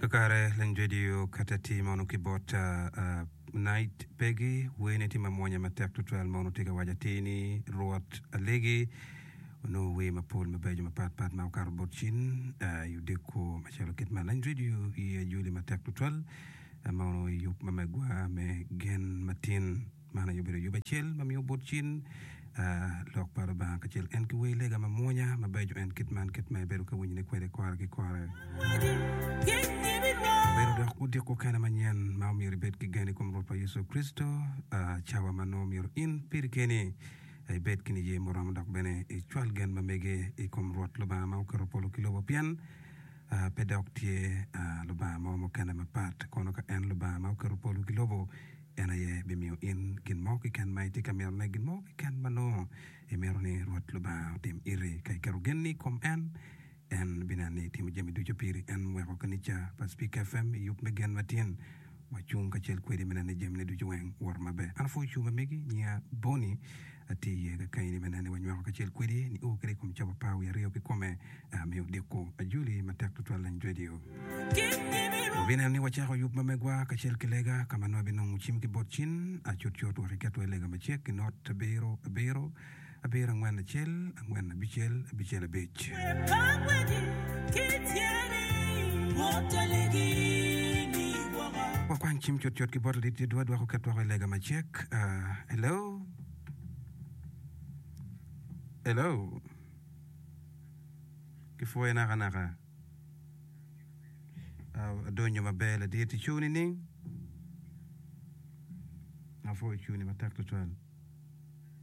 Kakare lany radio kata tye ma onongo ki bot Night Peggy wene tye mamwonya matek tutwal ma onongo tye ka waco atir ni Rwot alegi onongo wer mapol mabeco mapat pat ma okato bot cin i odiko macalo kit man. Lany radio i ajoli matek tutwal ma onongo i yub ma megwa me gen matin. Man aye obedo yub acel ma miyo bot cin lok pa Lubanga kacel en ki wer lega mamwonya mabeco en kit man kit ma ibedo ka winyone kwede kore ki kore. Obedo dok odiko kene manyen ma omyero ibed ki gen i kom Rwotwa Yecu Kricito, cawa ma nongo myero in piri keni ibed ki niye muromo dok bene icwal gen ma mege i kom Rwot Lubanga ma oketo polo ki lobo pien pe dok tye Lubanga mo mukene mapat kono ka en Lubanga ma oketo polo ki lobo. En aye bimiyo in gin mo keken ma itye ka mitone, gin mo keken ma nongo imito ni Rwot Lubanga otim iti. Ka iketo genni i kom en, en bineno ni etimo jami ducu piri. En weko kanica pa Spik FM i yub me gen matin. Wacung kacel kwedi me neno ni jamine ducu weng woto maber. An apwoyo cung ma megi, nyinga Bonnie, atye iye kakany-ni me neno ni wanywako kacel kwedi nio kede i kom cawa 12 kikome me odiko. Ajoli matek tutwal lany radio. Wabineno ni wacako yub ma megwa kacel ki lega ka ma nongo ibinongo cim ki bot cin cutcut wek iketwa i lega macek i not abiro abiro abiro angwen acel angwen abicel abicel abic. Wakwany cim cutcut ki bot ladit Edward wek oket woko i lega macek. Hello? Hello? Kipwoyo nakanaka. Adonyo maber ladit. Icung nining? Apwoyo cungni matek tutwal.